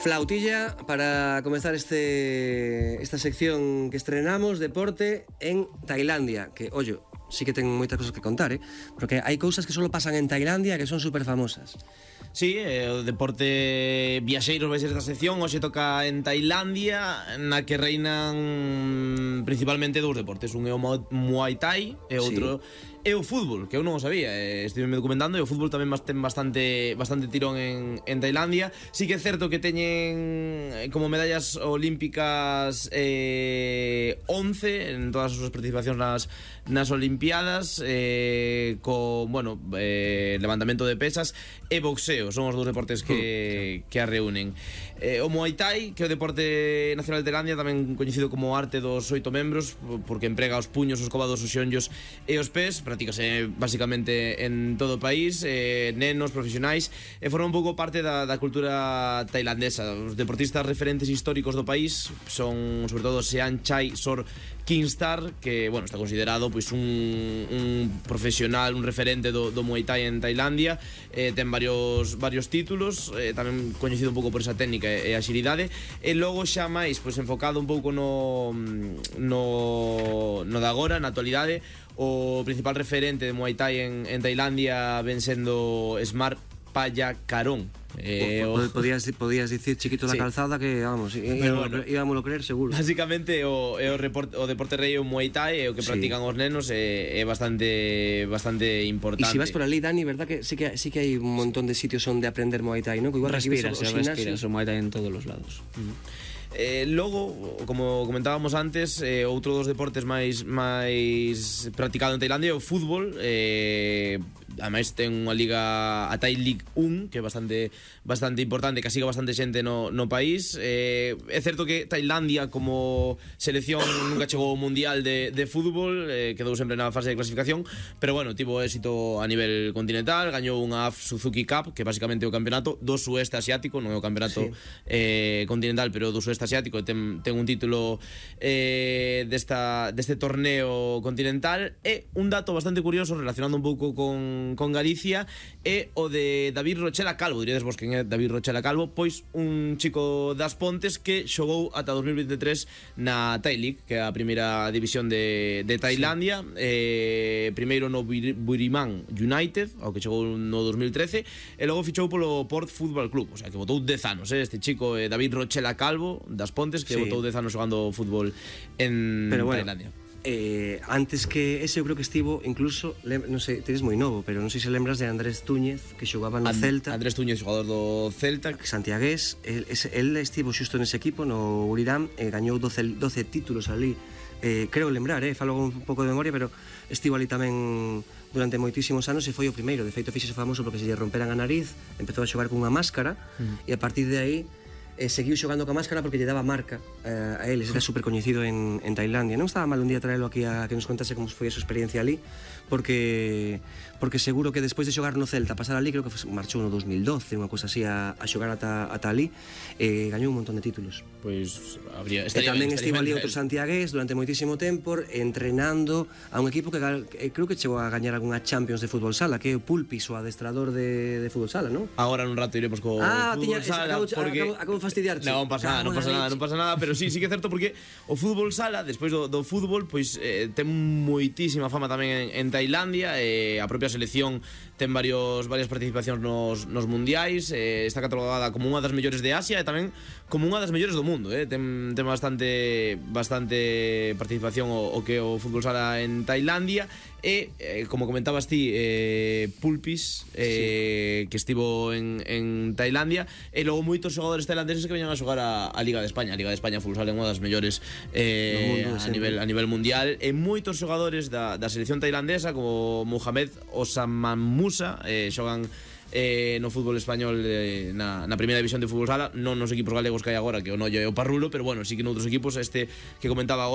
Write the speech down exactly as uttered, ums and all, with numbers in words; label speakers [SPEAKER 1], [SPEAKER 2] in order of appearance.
[SPEAKER 1] Flautilla para comenzar este esta sección que estrenamos, deporte en Tailandia, que, ollo, sí que ten moitas cosas que contar, eh? Porque hai cousas que solo pasan en Tailandia que son super famosas.
[SPEAKER 2] Sí, eh, o deporte viaxeiros vai ser esta sección. Hoxe toca en Tailandia, na que reinan principalmente dous deportes. Un é o Muay Thai e outro sí. é o fútbol, que eu non o sabía. eh, Estive me documentando e o fútbol tamén ten bastante, bastante tirón en, en Tailandia. Sí que é certo que teñen como medallas olímpicas eh, once en todas as súas participacións nas, nas Olimpiadas, eh, con, bueno, eh, levantamento de pesas e boxeo. Son os dous deportes que, que a reúnen. eh, O Muay Thai, que é o deporte nacional de Tailandia, tamén coñecido como arte dos oito membros, porque emprega os puños, os cobados, os xeonllos e os pés. Practícase basicamente en todo o país, eh, nenos, profesionais, e forma un pouco parte da, da cultura tailandesa. Os deportistas referentes históricos do país son, sobre todo, Sean Chai Sor Kingstar, que, bueno, está considerado pois un, un profesional, un referente do, do Muay Thai en Tailandia. eh, Ten varios, varios títulos, eh, tamén coñecido un pouco por esa técnica e a xeridade. E logo xa máis pois enfocado un pouco no, no, no de agora, na actualidade. O principal referente de Muay Thai en, en Tailandia ven sendo Smart Payakarong.
[SPEAKER 1] Eh, o, o, podías, podías dicir Chiquito da sí. Calzada, que vamos, bueno, íbamos a creer seguro.
[SPEAKER 2] Básicamente o, o, report, o deporte rei é o Muay Thai, é o que sí. practican os nenos, é, é bastante bastante importante.
[SPEAKER 1] E se vas por ali, Dani, verdad que sí que, sí que hai un montón de sitios onde aprender Muay Thai, ¿no? Que igual
[SPEAKER 3] respiras, se respiras o Muay Thai en todos os lados.
[SPEAKER 2] Uh-huh. Eh, logo, como comentábamos antes, eh, outro dos deportes máis máis practicado en Tailandia é o fútbol. eh, Ademais ten unha liga, a Thai League one, que é bastante bastante importante, que siga bastante xente no, no país. eh, É certo que Tailandia como selección nunca chegou ao mundial de, de fútbol, eh, quedou sempre na fase de clasificación, pero bueno, tivo éxito a nivel continental. Gañou unha A F Suzuki Cup, que basicamente é o campeonato do sueste asiático, non é o campeonato sí. eh, continental, pero do sueste asiático. Ten, ten un título eh, desta, deste torneo continental. E un dato bastante curioso, relacionando un pouco con con Galicia, é o de David Rochela Calvo. Diredes vos quen é David Rochela Calvo? Pois un chico das Pontes que xogou ata dos mil veintitrés na Thai League, que é a primeira división de, de Tailandia. sí. eh, Primeiro no Buriman United, ao que chegou no dos mil trece, e logo fichou polo Port Football Club. O sea, que botou dez anos, eh, este chico eh, David Rochela Calvo das Pontes, que sí. botou dez anos xogando fútbol en Pero bueno, Tailandia.
[SPEAKER 1] Eh, antes que ese eu creo que estivo incluso, non sei, tedes moi novo, pero non sei se lembras de Andrés Túñez, que xogaba no And, Celta.
[SPEAKER 2] Andrés Túñez, xogador do Celta,
[SPEAKER 1] santiagués. El, ese, el estivo xusto nese equipo, no Buriram, e gañou doce, doce títulos ali. Eh, creo lembrar, eh, falo un pouco de memoria, pero estivo ali tamén durante moitísimos anos e foi o primeiro. De feito, fíxese famoso porque se lle romperan a nariz, empezou a xogar cunha máscara, mm. e a partir de aí eh, seguiu xogando ca máscara porque lle daba marca eh, a eles, era super coñecido en, en Tailandia. Non estaba mal un día traelo aquí a que nos contase como foi a súa experiencia ali, porque porque seguro que despois de xogar no Celta, pasar ali, creo que marchou no dos mil doce, unha cosa así, a, a xogar ata, ata ali, eh, gañou un montón de títulos.
[SPEAKER 2] Pois habría,
[SPEAKER 1] e tamén estivo ali outro santiagués durante moitísimo tempo entrenando a un equipo que, que creo que chegou a gañar algunha Champions de fútbol sala, que é o Pulpis, o adestrador de, de fútbol sala, non?
[SPEAKER 2] Agora nun rato iremos co
[SPEAKER 1] ah,
[SPEAKER 2] fútbol
[SPEAKER 1] tiña,
[SPEAKER 2] sala,
[SPEAKER 1] acabo,
[SPEAKER 2] porque
[SPEAKER 1] acabo, acabo de fastidiarte.
[SPEAKER 2] Non pasa nada, non pasa nada, non pasa nada, pero sí, sí que é certo, porque o fútbol sala, despois do, do fútbol, pois eh, ten moitísima fama tamén en, en Tailandia. eh, A propia selección ten varios varias participacións nos, nos mundiais. eh, Está catalogada como unha das mellores de Asia e tamén como unha das mellores do mundo. eh. Ten, ten bastante bastante participación o, o que o fútbol sala en Tailandia. E, eh, como comentabas ti, eh, Pulpis, eh, sí. que estivo en, en Tailandia. E logo moitos xogadores tailandeses que veñan a xogar a, a Liga de España. A Liga de España fútbol sala é unha das mellores eh, mundo, a, nivel, a nivel mundial. E moitos xogadores da, da selección tailandesa, como Mohamed Osaman Musa, eh, xogan eh, no fútbol español, eh, na, na primeira división de fútbol sala. Non nos equipos galegos que hai agora, que o Noio e o Parrulo, pero bueno, sí que noutros equipos. Este que comentaba agora